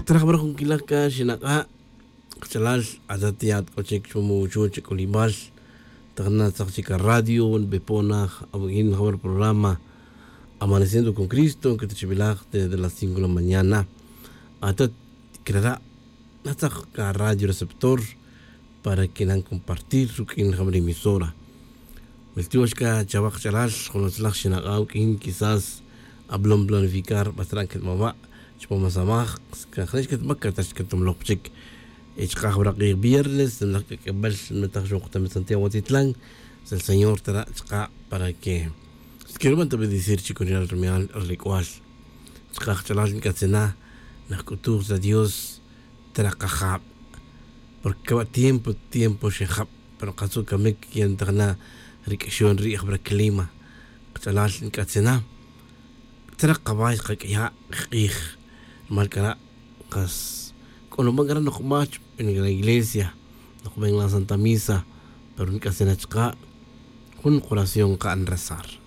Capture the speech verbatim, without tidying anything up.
Traj jabara jun quilaj ca xinak'a'. Kach'alal atat ya k'o chic chupam wuxu' chik'ulibal. Tajna tzak chic aradio nbepona awu'in jabara programa amaneciendo con cristo que tichibilaj desde las cinco de la mañana. Atat crara' natzak ca radio receptor para que nan compartir ruq'uin jabara emisora. Milti'ox c'a chawa kach'alal jun utzlaj xinak'a' uq'uin quizás ablom planificar b'asra' nquetmaba' chupa' masamaj. Cajne' xquetmac catach quetomloj pa chic. Y chaka' jawara' k'ij viernes nlaj k'ak'ebel nmetaj xon kutame santiago atitlan. Sel señor tara' chaka' para que xquirban ta bendecir chic ri ral rumial ri lec'ual. Chaka' kach'alal nc'atzina najc'utuj ta dios. Tara' kajab. Porque caba' tiempo tiempo xejab pero katzu' camic yentajna ri q'uixon ri' jabara' clima. Kach'alal nc'atzina. Tara' kaba' xkaq'uiya' kik'ij. Rumal c'ara' kas c'o nuban c'ara' nokba' chupan la iglesia nokba' en la santa misa. Pero nc'atzina chaka' jun koración ka'n rezar.